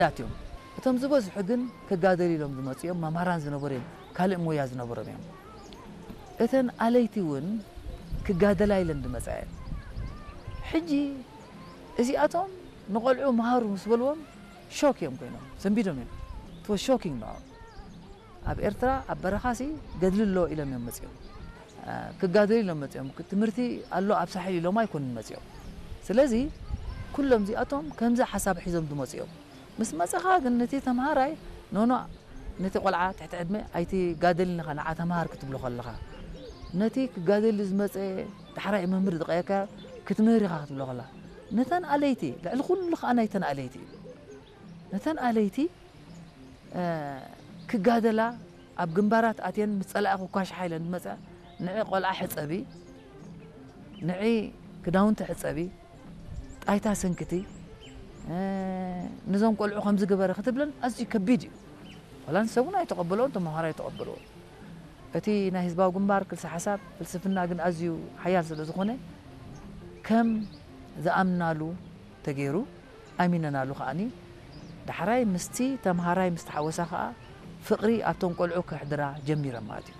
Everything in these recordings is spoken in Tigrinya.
ውሑዳት እዮም። እቶም ዝበዝሑ ግን ክጋደሉ ኢሎም ዝመፁ እዮም፣ መምሃራን ዝነበሩ እዮም፣ ካልእ ሞያ ዝነበሮም እዮም። እተን ኣለይቲ እውን ክጋደላ ኢለን ዝመፃ እየን። ሕጂ እዚኣቶም ንቆልዑ መሃሩ ምስ በልዎም ሾክ እዮም ኮይኖም፣ ሰንቢዶም እዮም። It was shocking ንዕኦም። ኣብ ኤርትራ ኣብ በረኻሲ ገድሊ ኣሎ ኢሎም እዮም መፂኦም። እ፣ ክጋደሉ ኢሎም መፂኦም። ትምህርቲ ኣሎ ኣብ ሳሕል ኢሎም ኣይኮኑን መፂኦም። ስለዚ ኩሎም እዚኣቶም ከምዚ ሓሳብ ሒዞም ዝመፁ እዮም። ምስ መፀኻ ግን ነቲ ተምሃራይ ኖኖ ነቲ ቆልዓ ትሕቲ ዕድመ ኣይትጋደልን ኢኻ ንዓ ተምሃር ክትብሎ ከለኻ፣ ነቲ ክጋደል ዝመፀ ዳሕራይ መምህር ዝቐየርካ ክትምህር ኢኻ ክትብሎ ከላ፣ ነተን ኣለይቲ ልዕሊ ኩሉ ከዓ ናይተን ኣለይቲ እዩ። ነተን ኣለይቲ እ፣ ክጋደላ ኣብ ግንባራት ኣትየን ምስ ጸላኢ ክኳሽሓ ኢለን ዝመጻ ንዒ ቆልዓ ሕጸቢ፣ ንዒ ክዳውንቲ ሕጸቢ፣ ጣይታ ሰንክቲ፣ እ፣ ነዞም ቆልዑ ከምዚ ግበረ ክትብለን ኣዝዩ ከቢድ እዩ። ዋላ ንሰብ እውን ኣይተቐበልዎን፣ ተመሃሮ ኣይተቐበልዎን። እቲ ናይ ህዝባዊ ግንባር ክልሰ ሓሳብ ፍልስፍና ግን ኣዝዩ ሓያል ስለ ዝኾነ ከም ዝኣምናሉ ተገይሩ ኣሚነናሉ ከኣኒ ዳሕራይ ምስቲ ተምሃራይ ምስ ተሓወሳ ከኣ ፍቕሪ ኣብቶም ቆልዑ ከሕድራ ጀሚረን ማለት እዩ።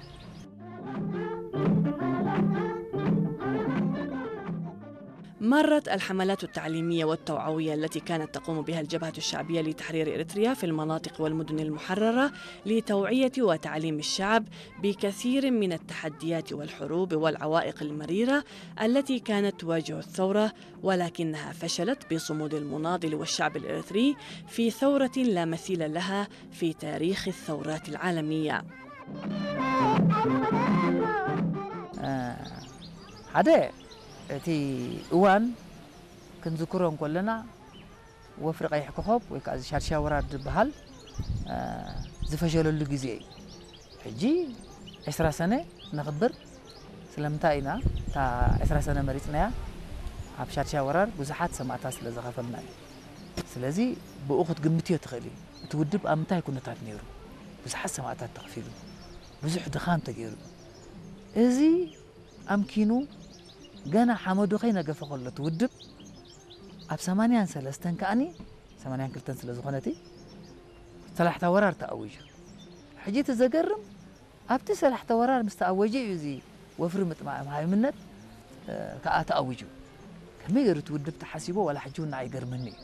مرت الحملات التعليمية والتوعوية التي كانت تقوم بها الجبهة الشعبية لتحرير إريتريا في المناطق والمدن المحررة لتوعية وتعليم الشعب بكثير من التحديات والحروب والعوائق المريرة التي كانت تواجه الثورة، ولكنها فشلت بصمود المناضل والشعب الإريتري في ثورة لا مثيل لها في تاريخ الثورات العالمية. ሓደ እቲ እዋን ክንዝክሮ እንከለና ወፍሪ ቀይሕ ኮኸብ ወይ ከዓ ሻድሻ ወራር ዝበሃል ዝፈሸለሉ ግዜ እዩ። ሕጂ ዕስራ ሰነ ነኽብር። ስለምንታይ ኢና እታ ዕስራ ሰነ መሪፅናያ? ኣብ ሻድሻ ወራር ብዙሓት ሰማእታት ስለ ዝኸፈልና እዩ። ስለዚ ብኡ ክትግምትዮ ትኽእል እዩ። እቲ ውድብ ኣብ ምንታይ ኩነታት ነይሩ? ብዙሓት ሰማእታት ተኸፊሉ፣ ብዙሕ ድኻም ተገይሩ። እዚ ኣምኪኑ ገና ሓመዱ ከይነገፈ ከሎ እቲ ውድብ ኣብ ሰማንያን ሰለስተን ከኣኒ ሰማንያን ክልተን ስለ ዝኾነ እቲ ሰላሕታ ወራር ተኣዊጁ። ሕጂ እቲ ዘገርም ኣብቲ ሰላሕታ ወራር ምስ ተኣወጀ እዩ እዚ ወፍሪ ምጥማም ሃይምነት ከኣ ተኣዊጁ። ከመይ ገይሩ እቲ ውድብ ተሓሲቦ ዋላ ሕጂ እውን ንዓይ ይገርመኒ እዩ።